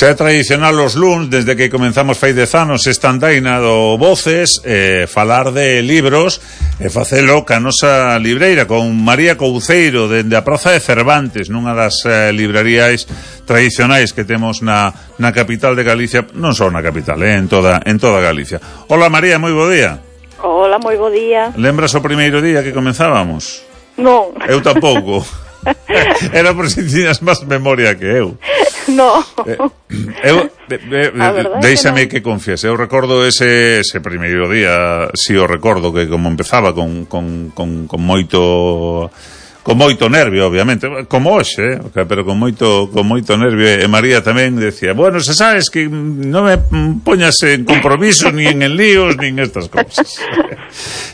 Xa é tradicional os luns, desde que comenzamos fai 10 anos esta andaina do Voces, falar de libros e facelo ca nosa libreira con María Couceiro dende a Praza de Cervantes, nunha das librarías tradicionais que temos na capital de Galicia, non só na capital, en toda Galicia. Hola María, moi bo día. Hola, moi bo día. Lembras o primeiro día que comenzábamos? Non. Eu tampouco. Era por si tiñas máis memoria que eu. No. Déixame que confiese. Eu recordo ese primeiro día, si o recordo, que como empezaba con moito nervio, obviamente, como hoxe, pero con moito nervio, e María tamén decía, bueno, se sabes que non me poñas en compromiso ni en líos, ni en estas cousas.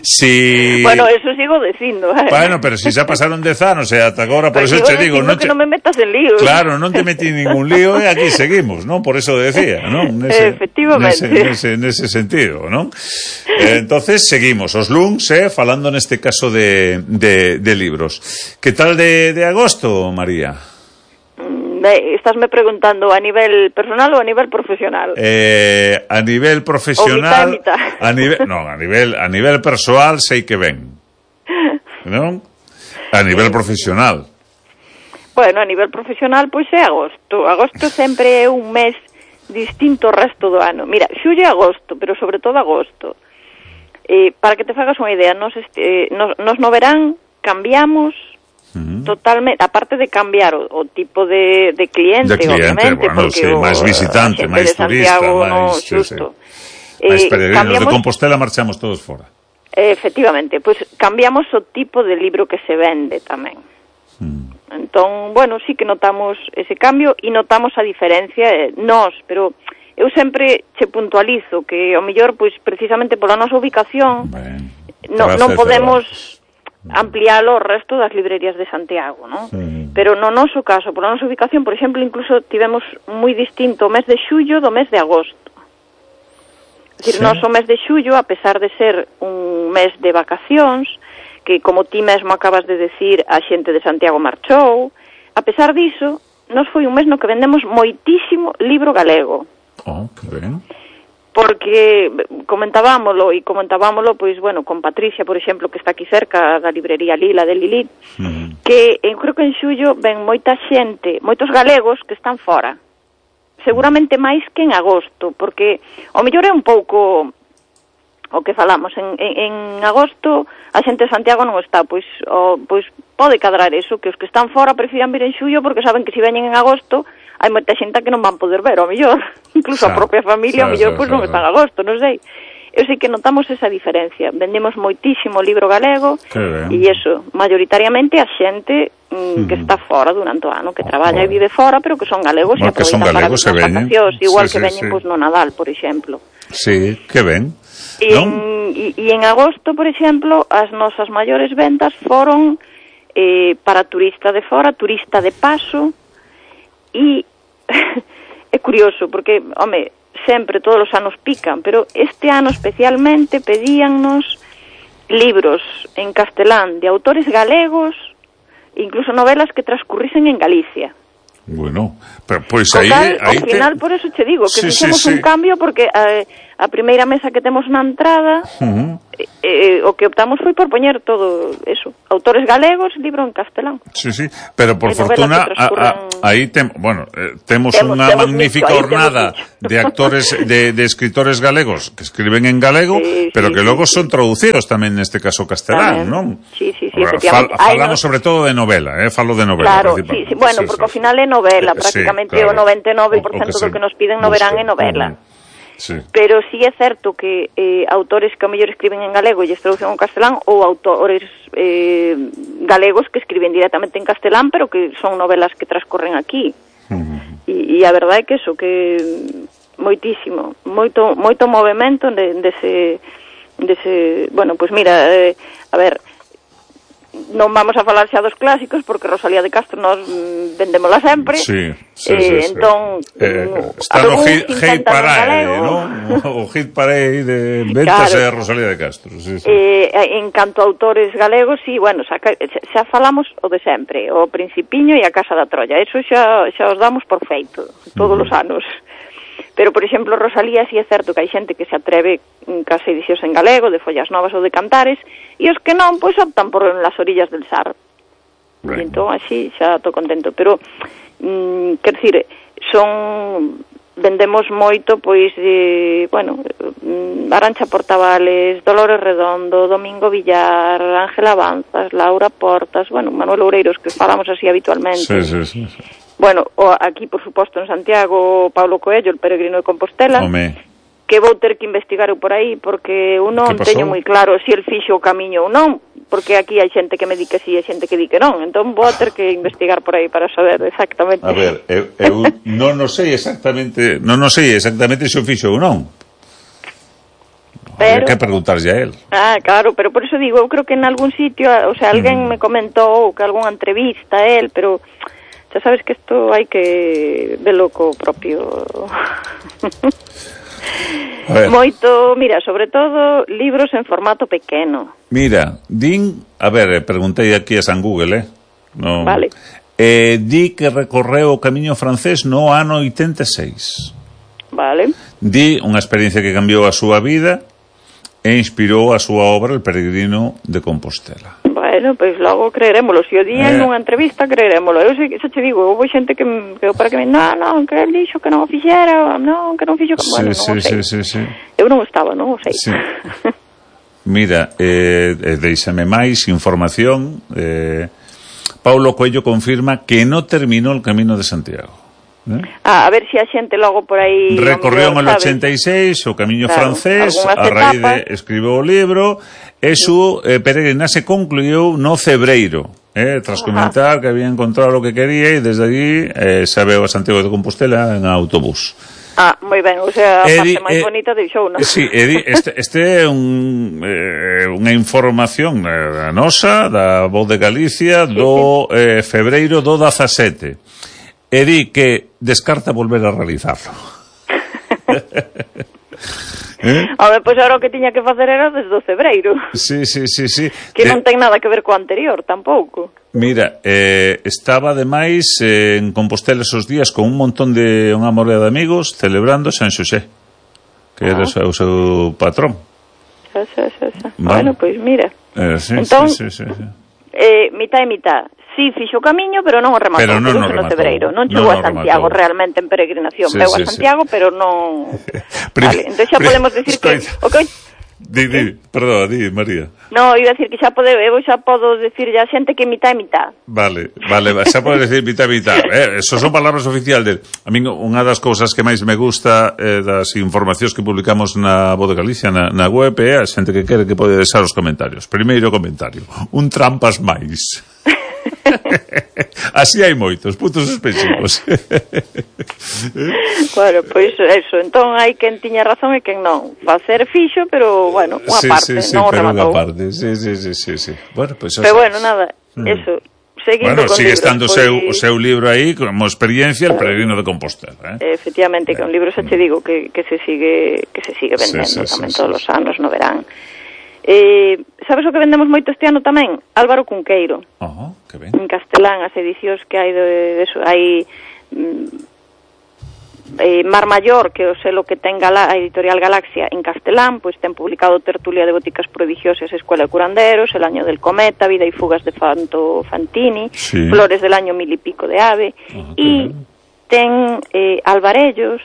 Si... Bueno, eso sigo dicindo. Bueno, pero si xa pasaron 10 anos e ata agora, por eso te digo, non que non me metas en líos. Claro, non te metí ningún lío e aquí seguimos, non? Por eso decía, non? Efectivamente. Nese sentido, non? Entonces seguimos os luns, falando neste caso de libros. Que tal de agosto, María? Estásme preguntando a nivel personal ou a nivel profesional? A nivel profesional, mitad. a nivel persoal sei que ben. Non? A nivel profesional. Bueno, a nivel profesional, pois é agosto. Agosto sempre é un mes distinto ao resto do ano. Mira, xullo e agosto, pero sobre todo agosto. Para que te fagas unha idea, nos no verán cambiamos totalmente, aparte de cambiar o tipo de cliente, obviamente, bueno, porque máis visitante, máis turista, máis xusto. Máis peregrinos de Compostela marchamos todos fora. Efectivamente, pois cambiamos o tipo de libro que se vende tamén. Entón, bueno, sí que notamos ese cambio e notamos a diferencia pero eu sempre che puntualizo que ao mellor, pois precisamente pola nosa ubicación non podemos ampliálo o resto das librerías de Santiago, non? Pero no noso caso, pola nosa ubicación, por exemplo, incluso tivemos moi distinto o mes de xullo do mes de agosto. É dicir, o mes de xullo, a pesar de ser un mes de vacacións, que como ti mesmo acabas de decir, a xente de Santiago marchou, a pesar diso, nos foi un mes no que vendemos moitísimo libro galego. Oh, que ben. Porque comentábamolo, pois, bueno, con Patricia, por exemplo, que está aquí cerca da librería Lila de Lilith, que eu creo que en xullo ven moita xente, moitos galegos que están fora. Seguramente máis que en agosto, porque o mellor é un pouco o que falamos, en agosto a xente de Santiago non está, pois pode cadrar eso, que os que están fora prefiran vir en xullo porque saben que se veñen en agosto hai moita xente que non van poder ver, ao mellor, incluso a propia familia, ao mellor, pois non está en agosto, non sei. Eu sei que notamos esa diferencia. Vendemos moitísimo libro galego e iso, maioritariamente a xente que está fora durante o ano, que traballa e vive fora, pero que son galegos e aproveitan para as vacacións, igual que veñen pois no Nadal, por exemplo. Sí, que ben. E en agosto, por exemplo, as nosas maiores ventas foron para turista de fora, turista de paso. E é curioso, porque, home, sempre, todos os anos pican, pero este ano especialmente pedíannos libros en castelán de autores galegos, incluso novelas que transcurrisen en Galicia. Bueno, pero pois aí ao final, por eso che digo, que fixemos un cambio, porque a primeira mesa que temos na entrada, o que optamos foi por poñer todo eso, autores galegos, libro en castelán. Sí, pero por fortuna aí temos unha magnífica hornada de actores, de escritores galegos que escriben en galego, pero que logo son traducidos tamén neste caso castelán, non? Sí, efectivamente. Falamos sobre todo de novela, falo de novela. Claro, bueno, porque ao final é novela, prácticamente o 99% do que nos piden no verán é novela. Pero sí é certo que autores que ao mellor escriben en galego e traducen en castelán, ou autores galegos que escriben directamente en castelán, pero que son novelas que transcorren aquí. E a verdade é que eso, que moitísimo, moito movimento dese, bueno, pois mira, a ver, non vamos a falar xa dos clásicos porque Rosalía de Castro nós vendémola sempre. Sí. Entón está no hit parade, non? O hit parade de ventas é Rosalía de Castro. En canto a autores galegos, sí, bueno, xa falamos o de sempre, o Principiño e a Casa da Trolla. Eso xa os damos por feito todos os anos. Pero, por exemplo, Rosalía, sí é certo que hai xente que se atreve cas edicións en galego, de Follas Novas ou de Cantares, e os que non, pois optan por Las Orillas del Sar. E entón, así, xa estou contento. Pero, quer dicir, vendemos moito, pois, Arantxa Portavales, Dolores Redondo, Domingo Villar, Ángela Avanzas, Laura Portas, Manuel Oureiros, que falamos así habitualmente. Sí. Bueno, aquí, por suposto, en Santiago, Paulo Coello, el peregrino de Compostela, que vou ter que investigar por aí, porque eu non teño moi claro se el fixo o camiño ou non, porque aquí hai xente que me di que sí e xente que di que non, entón vou ter que investigar por aí para saber exactamente. A ver, eu non sei exactamente se o fixo ou non. Hai que preguntarlle a él. Claro, pero por eso digo, eu creo que en algún sitio, o sea, alguén me comentou que algunha entrevista a él, pero xa sabes que isto hai que velo co propio. Moito, mira, sobre todo libros en formato pequeno. Mira, preguntei aquí a San Google, no. Vale. Di que recorreu o camiño francés no ano 86. Vale. Di unha experiencia que cambiou a súa vida e inspirou a súa obra El peregrino de Compostela. Bueno, pois logo creerémolo. Se o día nunha entrevista, creerémolo. Eu xa te digo, houve xente que para que non, que el dixo que non o fixera, non, que non fixo... Bueno, non o sei. Sí. Eu non estaba, non o sei. Sí. Mira, deixame máis información. Paulo Coello confirma que non terminou el Camino de Santiago. A ver se a xente logo por aí recorrió en el 86 o camiño francés, a raíz de escribiu o libro e su peregrinaxe concluiu no Cebreiro, tras comentar que había encontrado o que quería e desde allí se veu a Santiago de Compostela en autobús. Moi ben, o sea, a parte máis bonita deixou, non? Sí, este é unha información nosa da Voz de Galicia do febreiro do 17. E di que descarta volver a realizarlo. Pois agora o que tiña que facer era desde o Cebreiro. Sí. Que non ten nada que ver co anterior, tampouco. Mira, estaba ademais en Compostela esos días con un montón de unha morea de amigos celebrando San Xosé, que era o seu patrón. Bueno, pois mira. Entón, mitad e mitad. Sí, fixo o camiño, pero non o rematou. Pero non o rematou. No Cebreiro. Non chegou a Santiago realmente en peregrinación. Veu a Santiago, pero non... Vale, entón xa podemos decir que... Perdón, di, María. No, iba a decir que eu xa podo decir a xente que mitad e mitad. Vale, xa podes decir mitad e mitad. Eso son palabras oficiales. A min, unha das cousas que máis me gusta das informacións que publicamos na Voz de Galicia, na web, é a xente que quere que pode deixar os comentarios. Primeiro comentario, un trampas máis. Así hai moitos puntos suspensivos. Bueno, pois eso. Entón hai quen tiña razón e quen non. Facer fixo, pero bueno, unha parte, non o rematou. Sí. Bueno, pois pero bueno, nada, eso. Seguindo con sigue estando o seu libro aí como experiencia, El peregrino de Compostela, Efectivamente, que un libro xa te digo que se sigue vendendo tamén todos os anos no verán. Sabes o que vendemos moito este ano tamén? Álvaro Cunqueiro. Que ben. En castelán, as edicións que hai de eso, hai Mar Maior, que é o selo que ten a editorial Galaxia en castelán, pois ten publicado Tertulia de Boticas Prodigiosas, Escuela de Curanderos, El año del cometa, Vida y fugas de Fanto Fantini, Flores del año mil y pico de Ave, e ten Alvarellos,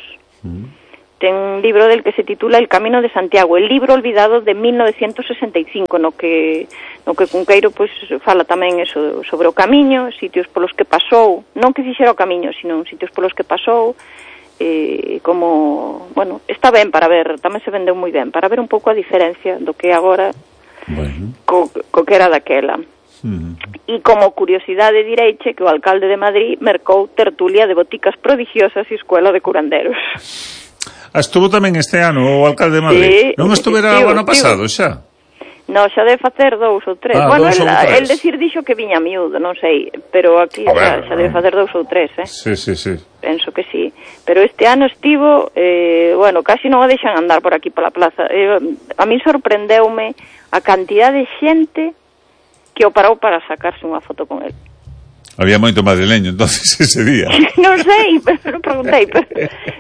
ten un libro del que se titula El camino de Santiago, el libro olvidado de 1965, no que Cunqueiro pois fala tamén eso sobre o camiño, sitios polos que pasou, non que fixera o camiño, sino sitios polos que pasou, como, bueno, está ben para ver, tamén se vendeu moi ben, para ver un pouco a diferencia do que agora co que era daquela. E como curiosidade direiche que o alcalde de Madrid mercou Tertulia de Boticas Prodigiosas e Escuela de Curanderos. Estuvo tamén este ano o alcalde de Madrid. Non estuvera o ano pasado xa? No, xa debe facer 2 ou 3. Bueno, el decir dixo que viña miúdo, non sei, pero aquí xa debe facer 2 ou 3, Sí. Penso que sí. Pero este ano estivo, bueno, casi non o deixan andar por aquí pola plaza. A mí sorprendeume a cantidad de xente que o parou para sacarse unha foto con el. Había moito madrileño entonces ese día. Non sei, pero non preguntei, pero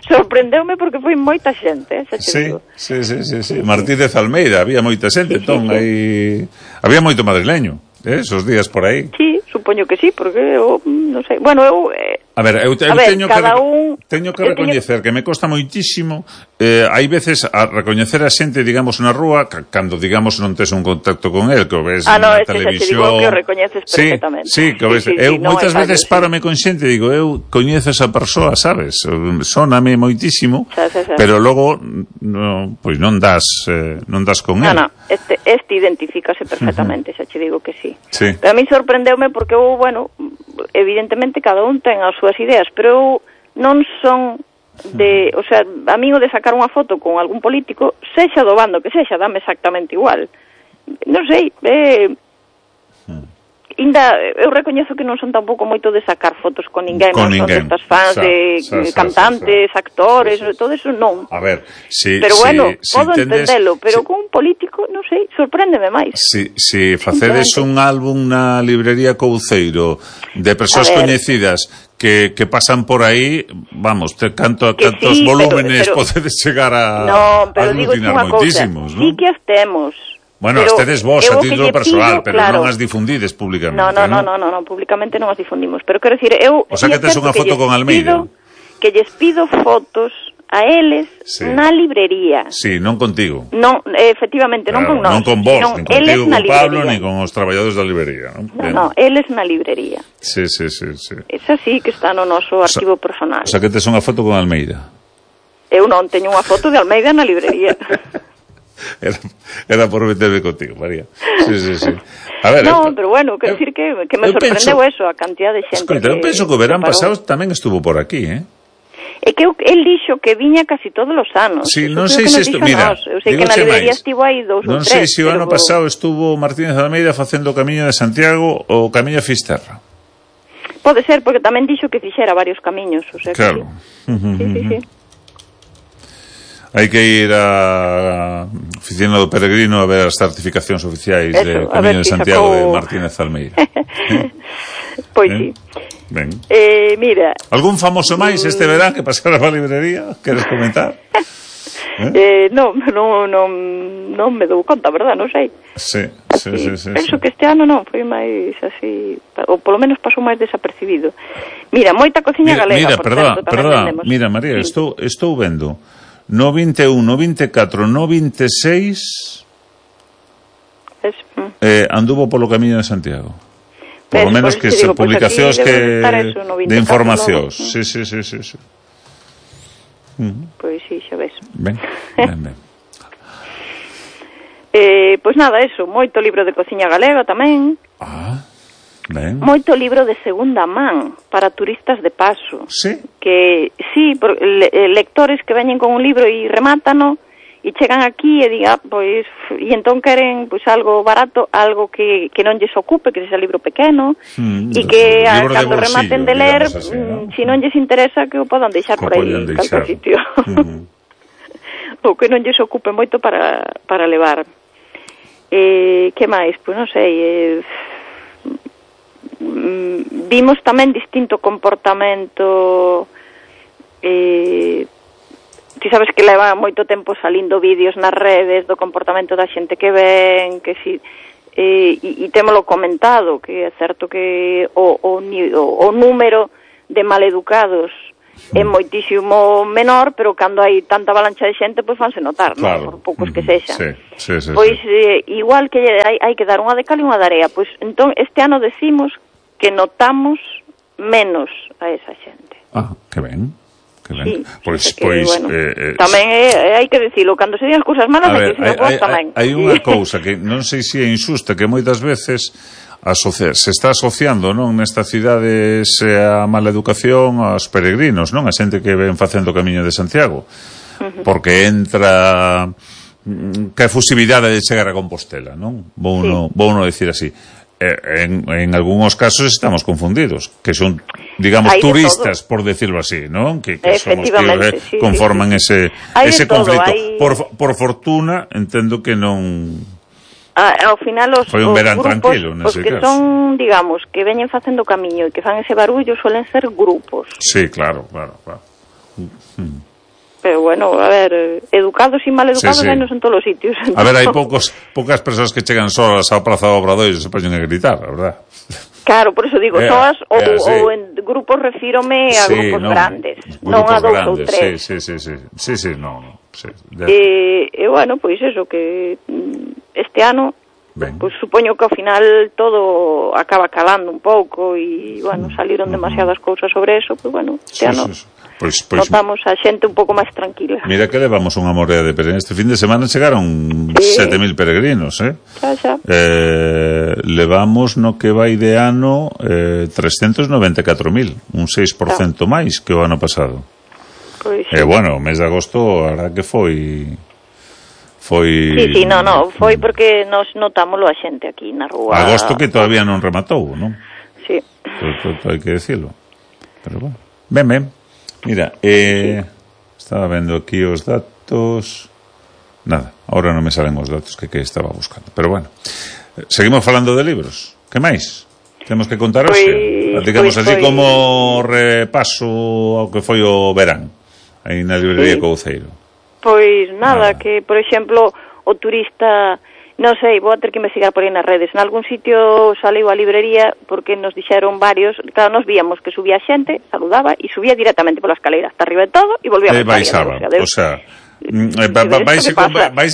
sorprendeume porque foi moita xente, Sí. Martínez Almeida, había moita xente, entón aí había moito madrileño, esos días por aí. Sí, supoño que sí, porque eu non sei. Bueno, eu A ver, eu teño que recoñecer que me costa moitísimo hai veces a recoñecer a xente, digamos, na rúa, cando, digamos, non tes un contacto con el, que o ves na televisión. Digo que o recoñeces perfectamente. Sí, que o ves. Eu moitas veces párome con xente e digo, eu coñezo esa persoa, sabes? Sóname moitísimo, pero logo pois non das con el. Non, este identifícase perfectamente, xa che digo que sí. Pero a mí sorprendeume porque eu, bueno, evidentemente cada un ten as súas ideas, pero eu non son de, o sea, a mí o de sacar unha foto con algún político, sexa do bando que sexa, dame exactamente igual. Non sei, eu recoñezo que non son tampouco moito de sacar fotos con ninguén, non son destas fans de cantantes, actores, todo eso non. A ver, pero bueno, podo entendelo, pero con un político, non sei, sorpréndeme máis. Si facedes un álbum na librería Couceiro de persoas coñecidas que pasan por aí, vamos, cantos volúmenes podedes chegar a aglutinar moitísimos, non? Sí que as temos. Bueno, estedes vos a título persoal, pero non as difundides públicamente. Non, públicamente non as difundimos. Pero quero dicir, eu... O sea que tes unha foto con Almeida. Que lles pido fotos a eles na librería. Sí, non contigo. Non, efectivamente, non con nós. Non con vos, nin contigo, con Pablo, nin con os traballadores da librería. Non, eles na librería. Sí. Esa sí que está no noso arquivo personal. O sea que tes unha foto con Almeida. Eu non teño unha foto de Almeida na librería. Era por meterme contigo, María. Sí. A ver, pero bueno, quero decir que me sorprendeu eso, a cantidad de xente. Escoita, eu penso que o verán pasado tamén estuvo por aquí, É que el dixo que viña casi todos os anos. Sí, non sei se mira, eu sei que na librería estivo aí 2 ou 3. Non sei se o ano pasado estuvo Martínez Almeida facendo o Camiño de Santiago ou o Camiño de Fisterra. Pode ser, porque tamén dixo que fixera varios camiños, o sea, claro. Sí. Hai que ir á oficina do Peregrino a ver as certificacións oficiais de Camiño de Santiago de Martínez Almeida. Pois sí. Ben. Mira. Algún famoso máis este verán que pasara a librería? Queres comentar? Non me dou conta, verdad, non sei. Sí. Penso que este ano non, foi máis así, ou polo menos pasou máis desapercibido. Mira, moita cociña galega, por certo, tamén vendemos. Mira, María, estou vendo no 21, no 24, no 26 anduvo polo Camiño de Santiago. Por lo menos que se publicacións que de informacións. Sí. Pois sí, xa ves. Ben. Pois nada, eso, moito libro de cociña galega tamén. Ben. Moito libro de segunda man para turistas de paso. Sí? Que sí, lectores que veñen con un libro e remátano e chegan aquí e digan, pois, e entón queren pois algo barato, algo que non lles ocupe, que sexa libro pequeno, e que cando rematen de ler, así, ¿no? Si non lles interesa, que o podan deixar por aí en calquer sitio. Ou que non lles ocupe moito para levar. Que máis? Pois non sei, vimos tamén distinto comportamento. Ti sabes que leva moito tempo salindo vídeos nas redes do comportamento da xente que ven, que si e témolo comentado, que é certo que o número de maleducados é moitísimo menor, pero cando hai tanta avalancha de xente, pois fanse notar, claro, por poucos que sexan. Sí. Pois igual que hai que dar unha de cal e unha de area, pois entón este ano decimos que notamos menos a esa xente. Que ben. Sí, pois bueno, tamén hai que dicilo, cando se digan cousas malas hai que dicilo vos tamén. Hai unha cousa que non sei se é injusta, que moitas veces se está asociando, non, nesta cidade a mala educación aos peregrinos, non, a xente que ven facendo o Camiño de Santiago, porque entra que efusividade de chegar a Compostela, non? Vou uno decir así. En algúns casos estamos confundidos, que son, digamos, turistas, por decirlo así, non? Que somos que conforman ese conflito. Por fortuna, entendo que non... Ao final foi un verán grupos, tranquilo, os que caso. Son, digamos, que veñen facendo camiño e que fan ese barullo, suelen ser grupos. Sí, claro. Pero bueno, a ver, educados e mal educados hai nos en todos os sitios. A ver, hai poucas persoas que chegan solas ao Praza do Obradoiro e se poñen a gritar, a verdad? Claro, por eso digo, soas ou en grupos refírome a grupos grandes, non a dous ou tres. Sí, non. E bueno, pois eso, que este ano, pues supoño que ao final todo acaba calando un pouco e, bueno, saliron demasiadas cousas sobre eso, pues bueno, este ano... Pois, notamos a xente un pouco máis tranquila. Mira que levamos unha morea de peregrinos. Este fin de semana chegaron 7.000 peregrinos, Xa. Levamos no que vai de ano 394.000, un 6% máis que o ano pasado. Pois bueno, o mes de agosto, a verdad que foi... Sí, no, foi porque nos notámoslo a xente aquí na rúa. Agosto que todavía non rematou, non? Sí. Hai que decirlo. Pero bueno, ben. Mira, estaba vendo aquí os datos. Nada, ahora non me salen os datos que estaba buscando. Pero bueno, seguimos falando de libros. Que máis? Temos que contar hoxe. Digamos así como repaso ao que foi o verán aí na librería Couceiro. Pois nada, que por exemplo o turista, non sei, vou a ter que investigar por aí nas redes. En algún sitio saliu a librería porque nos dixeron varios, claro, nos víamos que subía xente, saludaba e subía directamente pola escalera hasta arriba de todo e volvía a baixaba, o sea, vais a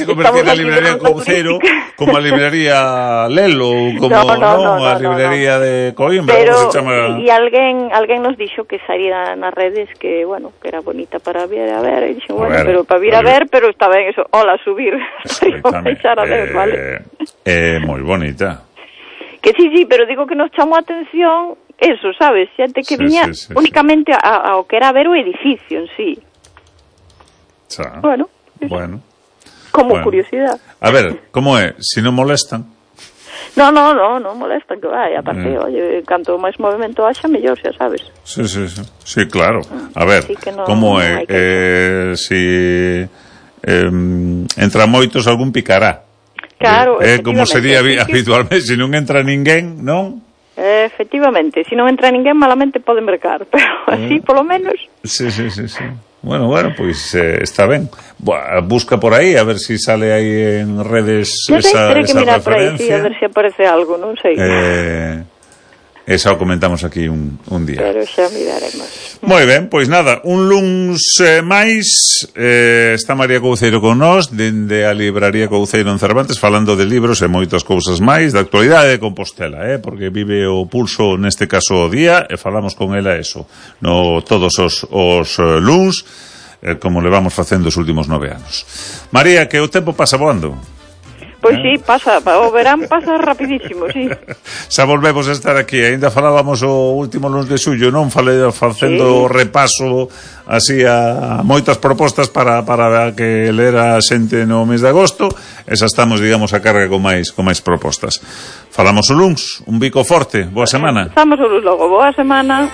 convertir a librería Couceiro como a librería Lelo ou como a librería de Coimbra, pero, como se chama. E alguén nos dixo que saía nas redes que, bueno, que era bonita para ver, e dixo, bueno, pero para vir a ver, pero está ben eso, hola, subir, a ver, vale. Moi bonita. Que sí, pero digo que nos chamou a atención eso, sabes, xente que viña únicamente ao que era ver o edificio en sí. Bueno. Como curiosidade. A ver, como é? Se non molestan? Non molestan, que vai, aparte, oye, canto máis movimento haxa, mellor, xa sabes. Sí, claro. A ver, como é? Se entra moitos, algún picará. Claro, como sería habitualmente, se non entra ninguén, non? Efectivamente, se non entra ninguén, malamente poden mercar, pero así, polo menos... Sí. Bueno, pois está ben. Busca por aí, a ver si sale aí en redes esa referencia. Que mirar por aí, a ver se aparece algo, non sei. Esa o comentamos aquí un día. Pero xa miraremos. Moi ben, pois nada, un luns máis, está María Couceiro con nós, dende a libraría Couceiro en Cervantes, falando de libros e moitas cousas máis, da actualidade de Compostela, porque vive o pulso neste caso o día, e falamos con ela eso, todos os luns, como levamos facendo os últimos 9 anos. María, que o tempo pasa voando. Pois sí, pasa, o verán pasa rapidísimo, sí. Xa volvemos a estar aquí, ainda falábamos o último lunes de xullo, non? Facendo repaso así a moitas propostas para que lera a xente no mes de agosto, e xa estamos, digamos, a carga con máis propostas. Falamos o luns, un bico forte, boa semana. Estamos o luns logo, boa semana.